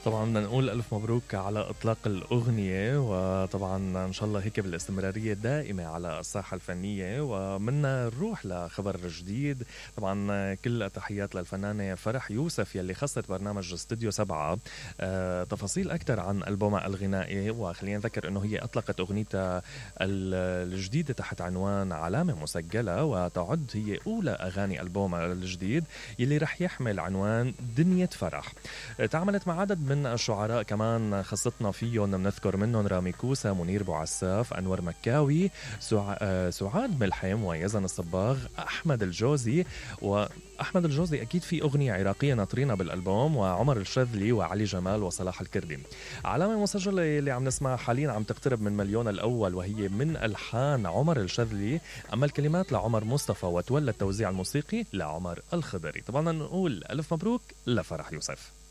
طبعا بدنا نقول ألف مبروك على إطلاق الأغنية، وطبعا إن شاء الله هيك بالاستمرارية الدائمة على الساحة الفنية. ومنا نروح لخبر جديد. طبعا كل التحيات للفنانة فرح يوسف يلي خصت برنامج استوديو 7 تفاصيل أكثر عن ألبومها الغنائي. وخلينا نذكر أنه هي أطلقت أغنيتها الجديدة تحت عنوان علامة مسجلة، وتعد هي أولى أغاني ألبومها الجديد يلي رح يحمل عنوان دنيا فرح. تعاملت مع عدد من الشعراء كمان خصتنا فيهم، بنذكر منهم رامي كوسا، منير بوعساف، أنور مكاوي، سعاد ملحم، ويزن الصباغ، أحمد الجوزي. وأحمد الجوزي أكيد في أغنية عراقية ناطرينها بالألبوم، وعمر الشاذلي وعلي جمال وصلاح الكردي. علامة مسجلة اللي عم نسمعها حاليا عم تقترب من مليون الأول، وهي من ألحان عمر الشاذلي، أما الكلمات لعمر مصطفى، وتولى التوزيع الموسيقي لعمر الخضري. طبعا نقول ألف مبروك لفرح يوسف.